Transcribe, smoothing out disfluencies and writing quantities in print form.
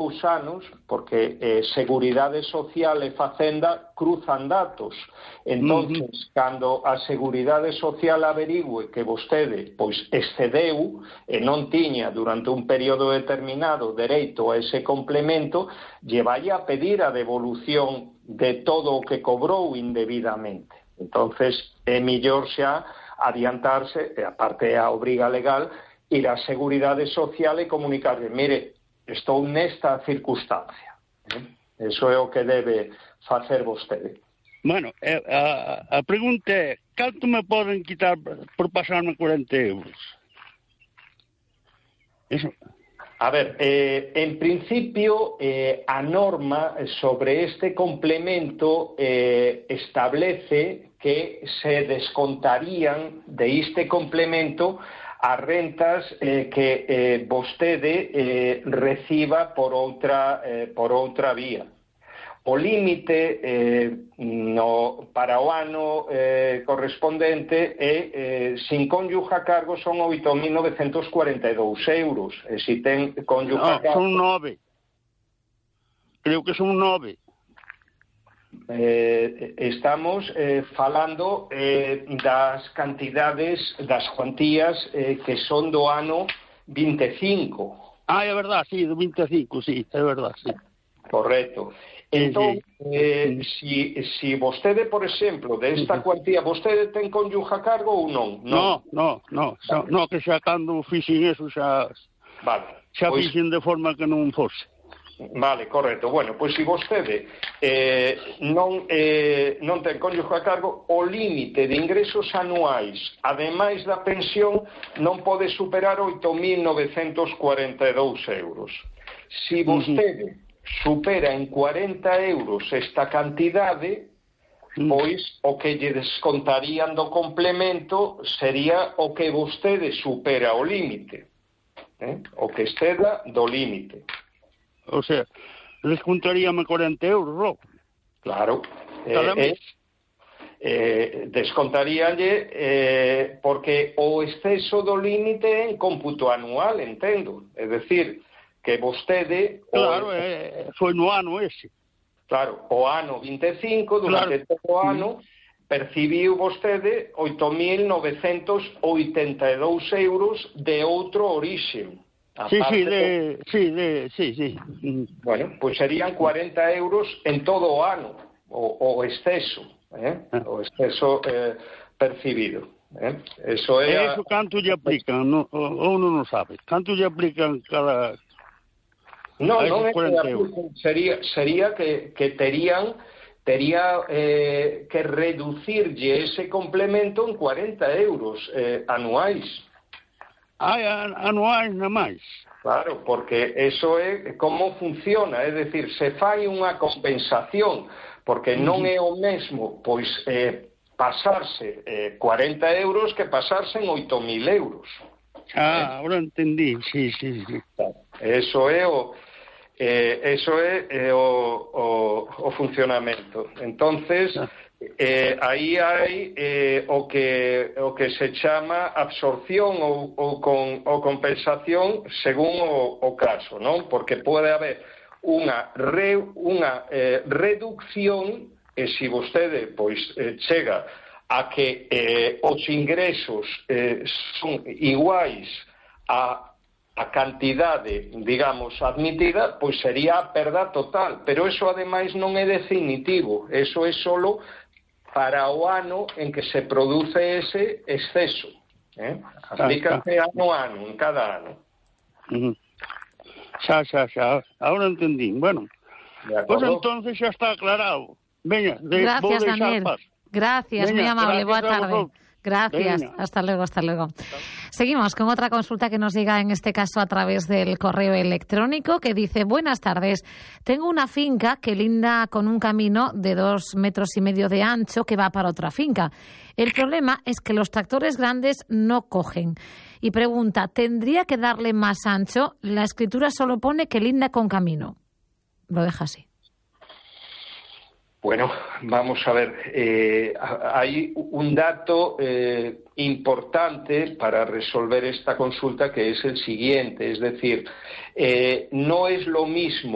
2 anos, porque Seguridade Social e Facenda cruzan datos. Entonces, cando a Seguridade Social averigüe que vostede pois excedeu e non tiña durante un período determinado dereito a ese complemento, lle vai a pedir a devolución de todo o que cobrou indebidamente. Entonces, é mellor xa adiantarse, e aparte a obriga legal, ir á Seguridade Social e comunicarle, mire, estou nesta circunstancia. Eso é o que debe facer vostede. Bueno, a pregunta é, canto me poden quitar por pasarme 40 euros? Eso. A ver, en principio, a norma sobre este complemento establece que se descontarían de este complemento as rentas que vostede reciba por outra vía. O límite para o ano correspondente é, sin cónyuge a cargo, son 8.942 euros. E se ten cónyuge a cargo... Son 9. Creo que son 9. Estamos falando das cantidades, das cuantías que son do ano 25. É verdad, sí, do 25, sí, é verdad, sí. Correcto. Entón, si vostede, por exemplo, desta cuantía, vostede ten cónyuge a cargo ou non? No, que xa cando fixen eso xa fixen de forma que non fose. Vale, correcto. Bueno, pois se vostede non ten cónyuge a cargo, o límite de ingresos anuais, ademais da pensión, non pode superar 8.942 euros. Se vostede supera en 40 euros esta cantidade, pois o que lle descontarían do complemento sería o que vostede supera o límite, o que exceda do límite. O sea, descontaríame 40 euros, ¿no? Claro. Descontaríalle porque o exceso do límite é en cómputo anual, entendo. É decir, que vostede... Claro, foi no ano ese. Claro, o ano 25, durante todo o ano, percibiu vostede 8.982 euros de outro orixe. Sí. Bueno, pues serían 40 euros en todo o ano, o exceso, o exceso percibido. Eso é... Eso canto lle aplican, ou non o sabe? Canto lle aplican cada... Non é que aplican, sería que tería que reducirlle ese complemento en 40 euros anuais. Anuais na máis. Claro, porque eso é como funciona, é dicir, se fai unha compensación, porque non é o mesmo, pois, pasarse 40 euros que pasarse en 8.000 euros. Ahora entendí, sí. Eso é o funcionamento. Entonces, aí hai o que se chama absorción ou compensación según o caso, non? Porque pode haber unha reducción, e se vostede pois chega a que os ingresos son iguais a cantidade, digamos, admitida, pois sería a perda total. Pero eso, ademais, non é definitivo. Eso é solo para o ano en que se produce ese exceso. Aplícase ano a ano, en cada ano. Xa. Ahora entendí. Bueno, pues entonces xa está aclarado. Veña, gracias, Daniel. Gracias, muy amable. Boa tarde. Gracias. Venga. Hasta luego. Seguimos con otra consulta que nos llega, en este caso a través del correo electrónico, que dice: buenas tardes, tengo una finca que linda con un camino de 2,5 metros de ancho que va para otra finca. El problema es que los tractores grandes no cogen. Y pregunta, ¿tendría que darle más ancho? La escritura solo pone que linda con camino. Lo deja así. Bueno, vamos a ver, hay un dato importante para resolver esta consulta, que es el siguiente, es decir, no es lo mismo